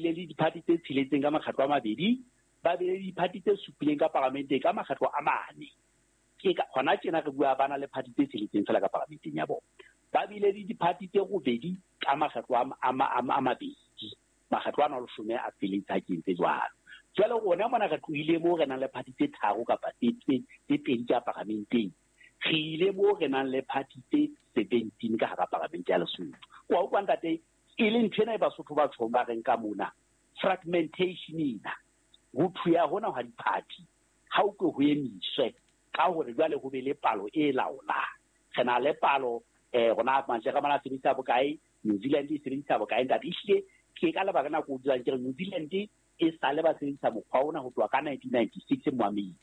bile le diphathi tse tsheletseng ka makgetlo a mabedi, ba bile le diphathi tse supileng ka paramenteng ka makgetlo a mane. Ke ka hona tjena re bua ba na le phathi tse tsheletseng fela ka paramenteng ya bona. Ba bile le diphathi tse robedi ka makgetlo a mabedi. Makgetlo ana a leshome a feletse ha ke entse jwalo. Jwale rona mona re tlohile moo re nang le phathi tse tharo kapa tse pedi ka paramenteng. Re ile moo re nang le phathi tse 17 ka hara paramente ya Lesotho. Wa utlwa ntate, e le ntho ena e Basotho ba tjhong ba reng ka mona, fragmentation ena, ho thuya hona hwa diphathi, ha o ke ho emiswe ka hore jwale ho be le palo e laolang. Re na le palo, rona Majeremane a sebedisa bokae, New Zealand e sebedisa bokae, ntate. Ehlile ke ka lebaka nako o dulang ke re New Zealand e sale ba sebedisa mokgwa ona ho tloha ka 1996 moamedi.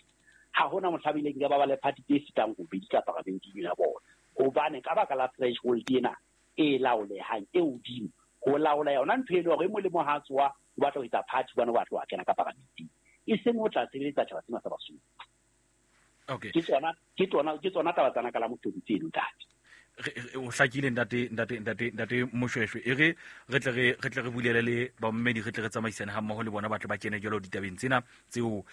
Ha hona mohla ba ileng ba ba le party tse fetang robedi ka paramenteng ya bona. Hobane ka baka la threshold ena e laolehang e hodimo, ho laola yona ntho e le hore e molemo ha tsoa o batla ho etsa party hobane o batla ho kena ka paramenteng. E seng ho tla sebeletsa tjhaba sena sa Basotho. Okay. Ke tsona taba tsana ka la Mothobi tseno, ntate. O hlakile ntate Moshweshwe. E re re tle re bulele le bammedi, re tle re tsamaisane ha mmoho le bona ba tle ba kene jwalo ditabeng tsena tseo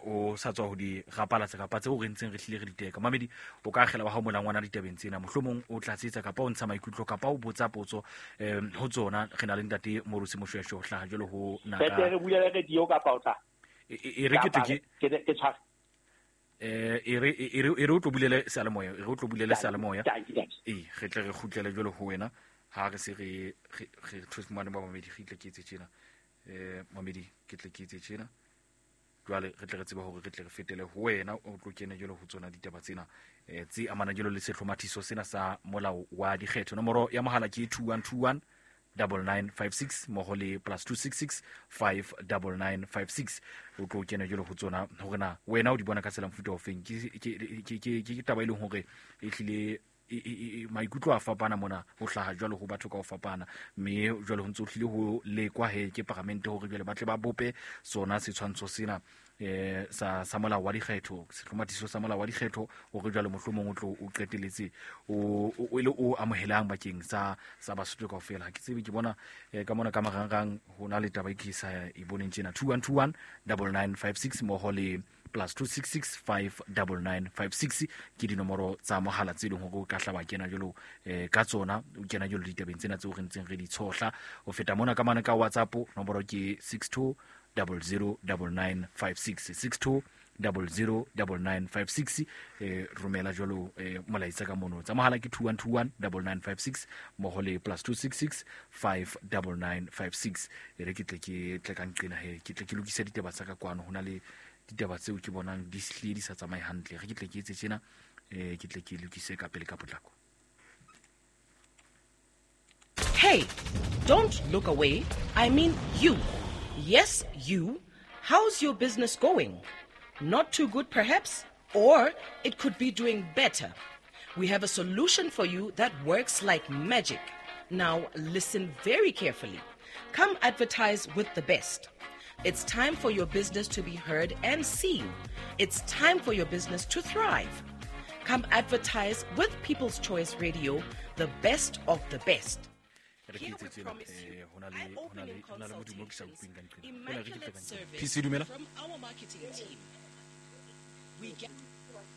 o sa tswa ho di rapalatsa kapa tseo re ntseng re hlile re di teka. Mamedi, o ka akgela wa hao molangwana ditabeng tsena, mohlomong o tlatsetsa kapa o ntsha maikutlo kapa o botsa potso ho tsona. Re na le ntate Morusi Moshweshwe ho hlaha jwalo ho naka. Re bulele radio kapa o tla? E re ke tle ke ke tshware. E re o tlo bulele seyalemoya, e re o tlo bulele seyalemoya. Ee, re tle re kgutlele jwalo ho wena ha re se re thuse mane ba mamedi, re tle ke etse tjena. Mamedi, ke tle ke etse tjena. Jwale re tle re tsebe hore re tle re fetele ho wena, o tlo kene jwalo ho tsona ditaba tsena tse amanang jwalo le sehlomathiso sena sa molao wa dikgetho. Nomoro ya mohala ke 2121 9956 mmoho le plus 266 59956. O tlo kena jwalo ho tsona hore na wena o di bona ka tsela mofuta ofeng. Ke taba e leng hore e hlile maikutlo a fapana mona ho hlaha jwalo ho batho ka ho fapana, mme jwalo ho ntse ho hlile ho lekwa he ke paramente hore jwale ba tle ba bope sona setshwantsho sena sa molao wa dikgetho, sehlomathiso sa molao wa dikgetho, hore jwale mohlomong o tlo o qeteletse o le o amohelang bakeng sa Basotho kaofela. Ha ke tsebe, ke bona ka mona ka marangrang ho na le taba e ke sa e boneng tjena. 2121 9956 mmoho le plus 266 59956 ke dinomoro tsa mohala tse leng hore o ka hlaba kena jwalo ka tsona, o kena jwalo ditabeng tsena tseo re ntseng re di tshohla. Ho feta mona ka mane ka WhatsApp nomoro ke 62 00 9956, 62 00 9956. Romela jwalo molaetsa ka mono. Tsa mohala ke 2121 9956 mmoho le plus 266 59956. E re ke tle ke tle ka nqena he, ke tle ke lokise ditaba tsa ka kwano. Ho na le ditaba tseo ke bonang di hlile di sa tsamaye hantle. Re ke tle ke etse tjena, ke tle ke lokise ka pele ka potlako. Hey, don't look away. I mean you. Yes, you. How's your business going? Not too good, perhaps? Or it could be doing better. We have a solution for you that works like magic. Now, listen very carefully. Come advertise with the best. It's time for your business to be heard and seen. It's time for your business to thrive. Come advertise with People's Choice Radio, the best of the best. Here we promise you eye-opening consultations, immaculate service from our marketing team. We get...